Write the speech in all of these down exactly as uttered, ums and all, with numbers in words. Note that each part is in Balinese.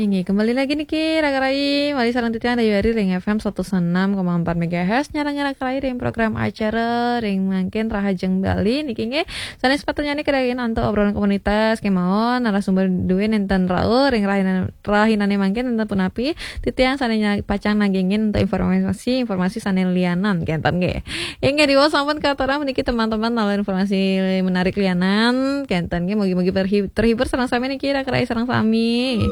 Inggih, kembali lagi niki Raka Rai, malih sareng titiang Dayu Ari ring F M satus enam koma empat megahertz, nyarengin Raka Rai ring program acara ring mangkin Rahajeng Bali niki nggih. Sané sepatutnyané kadagingin antuk obrolan komunitas kémaon, narasumber duwé nénten rauh ring rahina-, rahinane mangkin nénten punapi, titiang sané nya-, pacang nagingin antuk informasi-informasi sané lianan kénten nggih. Inggih, diwau sampun katurang puniki teman-teman, taler informasi menarik lianan kénten nggih, mugi-mugi terhi-, terhibur sareng sami niki Raka Rai sareng sami.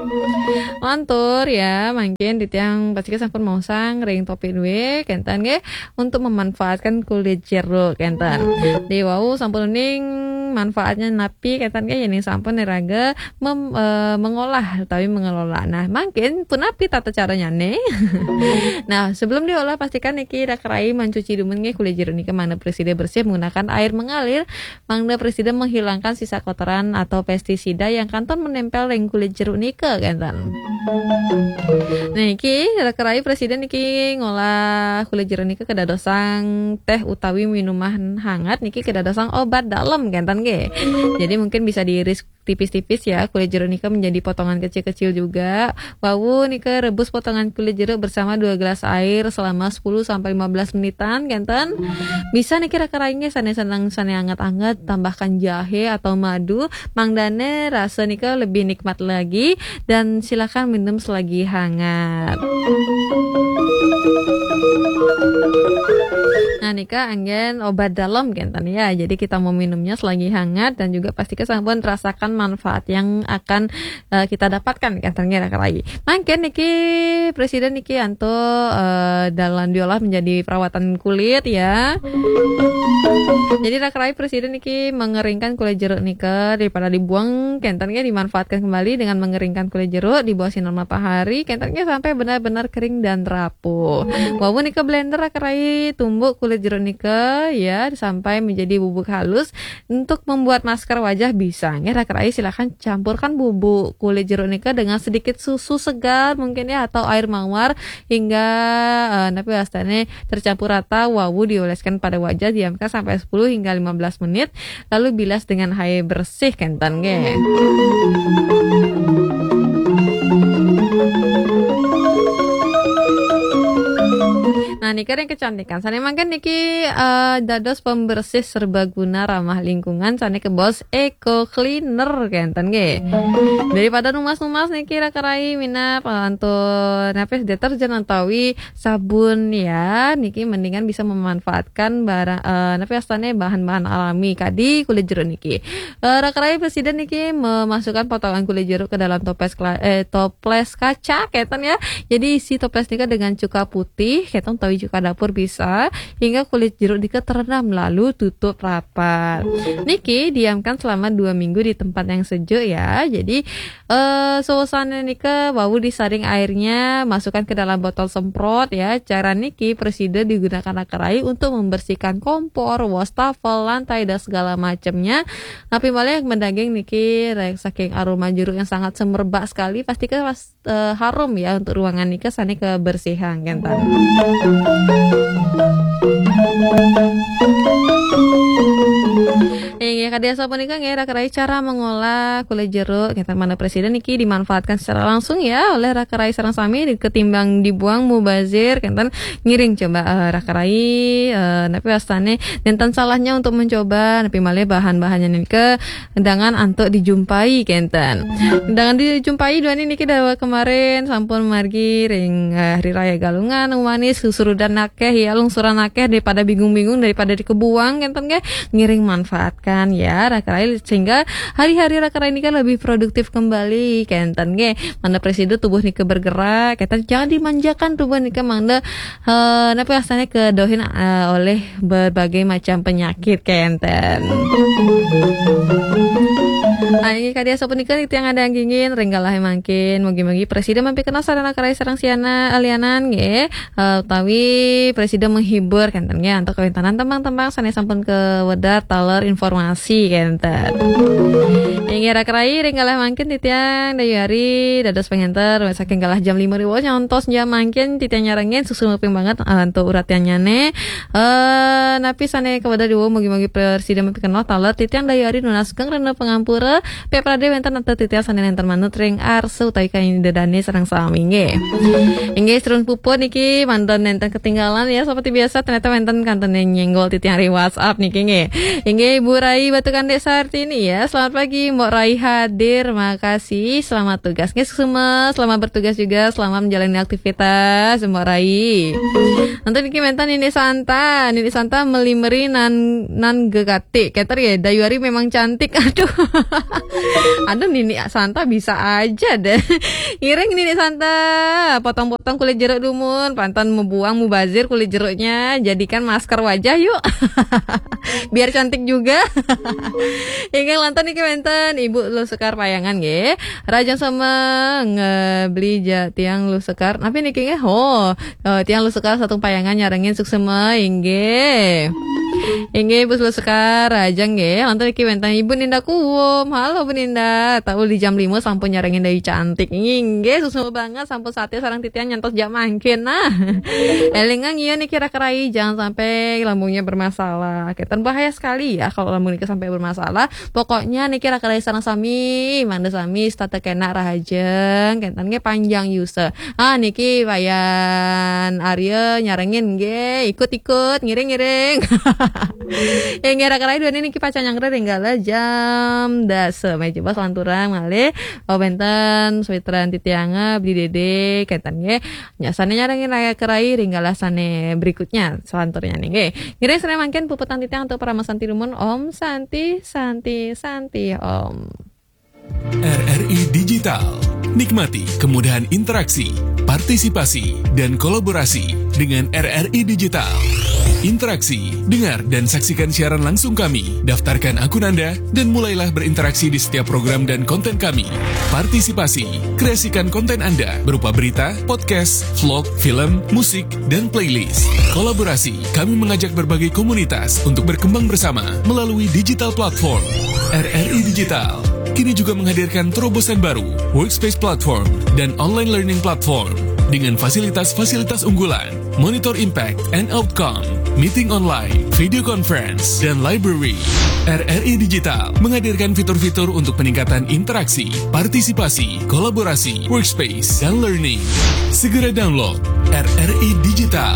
Lantur ya, mangkin titiang pastika sampun maosang ring topik duwé kénten nggih, untuk memanfaatkan kulit jeruk kénten. Diwau sampun uning manfaatnya napi kénten nggih, yén sampun iraga mem-, eh, mengolah utawi mengelola. Nah, mangkin punapi tata caranya nih? Nah, sebelum diolah, pastikan niki Raka Rai mencuci dumun nggih kulit jeruk nika mangda prasida bersih menggunakan air mengalir, mangda prasida menghilangkan sisa kotoran atau pestisida yang kantun menempel ring kulit jeruk nika kénten. Niki Raka Rai prasida niki ngolah kulit jeruk nika kadadosang teh utawi minuman hangat niki kadadosang obat dalem kénten nggih. Jadi mungkin bisa diiris tipis-tipis ya, kulit jeruk nika menjadi potongan kecil-kecil juga. Wau nika rebus potongan kulit jeruk bersama dua gelas air selama sepuluh sampai lima belas menitan, kénten. Bisa niki Raka Rai nggih sané seneng sané anget-anget, tambahkan jahe atau madu, mangdané rasa nika lebih nikmat lagi, dan silakan minum selagi hangat. Nah, nika anggén obat dalem kénten ya. Jadi kita mau minumnya selagi hangat dan juga pastikan sampun rasakan manfaat yang akan, eh, kita dapatkan kénten nggih Raka Rai. Mangkin niki prasida niki antuk, eh, dalam diolah menjadi perawatan kulit ya. Jadi Raka Rai prasida niki mengeringkan kulit jeruk nika daripada dibuang kénten nggih, dimanfaatkan kembali dengan mengeringkan kulit jeruk di bawah sinar matahari kénten nggih sampai benar-benar kering dan rapuh. Wau nika blender Raka Rai tumbuk kulit jeruk nika ya sampai menjadi bubuk halus. Untuk membuat masker wajah bisa nggih Raka Rai, silakan campurkan bubuk kulit jeruk nika dengan sedikit susu segar mungkin ya atau air mawar hingga, eh, napi wastané tercampur rata, wau dioleskan pada wajah, diamkan sampai sepuluh hingga lima belas menit, lalu bilas dengan air bersih kénten nggih. Nah, nika ring kecantikan. Sané mangkin niki, eh, dados pembersih serbaguna ramah lingkungan sané kabaos eco cleaner kénten nggih. Daripada numas-numas niki Raka Rai minab, eh, antuk napi deterjen utawi sabun ya, niki mendingan bisa memanfaatkan barang, eh, napi wastané bahan-bahan alami kadi kulit jeruk niki. Eh, Raka Rai prasida niki memasukkan potongan kulit jeruk ke dalam toples kela-, eh, toples kaca kénten ya. Jadi isi toples nika dengan cuka putih, kénten utawi cuka dapur bisa, hingga kulit jeruk nika terendam lalu tutup rapat. Niki diamkan selama dua minggu di tempat yang sejuk ya. Jadi, eh, suasana nika wau disaring airnya, masukkan ke dalam botol semprot ya. Cara niki prasida digunakan Raka Rai untuk membersihkan kompor, wastafel, lantai dan segala macamnya. Napi malih mendaging niki rek-, saking aroma jeruk yang sangat semerbak sekali, pastikan pas eh, harum ya untuk ruangan nika sané kebersihan kénten. Inggih, kadi asapunika nggih Raka Rai cara mengolah kulit jeruk kénten, mangda prasida niki dimanfaatkan secara langsung ya oleh Raka Rai sareng sami, ketimbang dibuang mubazir kénten, ngiring coba, eh, Raka Rai, eh, napi wastané nénten salahnya untuk mencoba, napi malih bahan-bahannya nika dengan antuk dijumpai kénten. Dengan dijumpai duaning niki dawuh kemarin sampun margi ring, eh, Hari Raya Galungan, manis, susurudan akéh, ya, lungsuran akéh, daripada bingung-bingung, daripada dikebuang kénten nggih, ngiring manfaatkan ya Raka Rai, sehingga hari-hari Raka Rai nika lebih produktif kembali kénten nggih. Mangda prasida tubuh nika bergerak, kénten jangan dimanjakan tubuh nika mangda, eh, napi wastané kedohin, eh, oleh berbagai macam penyakit kénten. Ah, inggih kadi asapunika titiang nganggingin ring galah mangkin. Mugi-mugi prasida mampikenoh sareng Raka Rai sareng siana alianan nggih. Eh, utawi prasida menghibur kénten nggih antuk kawéntenan tembang-tembang sané sampun kawedar taler informasi kénten. Inggih Raka Rai ring galah mangkin titiang Dayu Ari dados pangenter saking galah jam lima ribu nyantos jam mangkin titiang nyarengin suksma ping banget, eh, antuk uratiannyané. Eh, napi sané kawedar diwau mugi-mugi prasida mampikenoh taler, titiang Dayu Ari nunas geng rena pangampura. Pepradé wénten nata titiang sané nénten manut ring arsa utawi kayun Ida Dané sareng sami nggih. Inggih, sedulur puput niki mangda nénten ketinggalan ya, seperti biasa ternyata wénten kantun nyenggol titiang ring WhatsApp niki nggih. Inggih, Ibu Rai Batukan Desa Artini ya. Selamat pagi, Mbok Rai hadir. Makasih, selamat tugas. Nggih, suksma, selamat bertugas juga, selamat menjalani aktivitas, Mbok Rai. Nanti niki wénten Nini Santa, Nini Santa meli meri nan nan gegati. Keter ya, Dayuari memang cantik. Aduh. Aduh, Nini Santa bisa aja deh. Ngiring Nini Santa, potong-potong kulit jeruk dumun, pantun mabuang mubazir kulit jeruknya, jadikan masker wajah yuk. Biar cantik juga. Inggih lantas niki wénten Ibu Luh Sekar Payangan nggih. Rahajeng sami ngebli ja tiang Luh Sekar. Napi niki nggih? Oh, eh, tiang Luh Sekar Satung Payangan nyarengin suksma inggih. Inggih, Ibu Luh Sekar, rahajeng nggih. Lantas niki wénten Ibu Ninda Kuwum. Halo Bu Ninda, tahu di jam lima sampun nyarengin Dayu Cantik. Inggih, suksma banget sampun satia sareng titiang nyantos jam mangkin. Nah. Élingang iya niki raka rai, jangan sampai lambungnya bermasalah. Keten bahaya sekali ya kalau lambung niki sampai bermasalah. Pokoknya niki raka rai sareng sami, mangda sami setata kenak rahajeng, kenten nggih panjang yuswa. Ah niki Wayan Arya nyarengin nggih, ikut-ikut, ngiring-ngiring. Inggih raka rai duaning niki pacang nyanggra ring galah jam dasa. Meh coba selanturang malih. Oh wénten sawitran titiang Bli Dede kenten nggih. Nya sané nyarengin raka rai ring galah sané berikutnya selanturnya nggih. Ngiring sané mangkin puputang titiang antuk parama santi dumun. Om Santi, Santi, Santi, Om. R R I Digital. Nikmati kemudahan interaksi, partisipasi, dan kolaborasi dengan R R I Digital. Interaksi, dengar dan saksikan siaran langsung kami. Daftarkan akun Anda dan mulailah berinteraksi di setiap program dan konten kami. Partisipasi, kreasikan konten Anda berupa berita, podcast, vlog, film, musik, dan playlist. Kolaborasi, kami mengajak berbagai komunitas untuk berkembang bersama melalui digital platform. R R I Digital kini juga menghadirkan terobosan baru, workspace platform, dan online learning platform dengan fasilitas-fasilitas unggulan, monitor impact and outcome, meeting online, video conference, dan library. R R I Digital menghadirkan fitur-fitur untuk peningkatan interaksi, partisipasi, kolaborasi, workspace, dan learning. Segera download R R I Digital.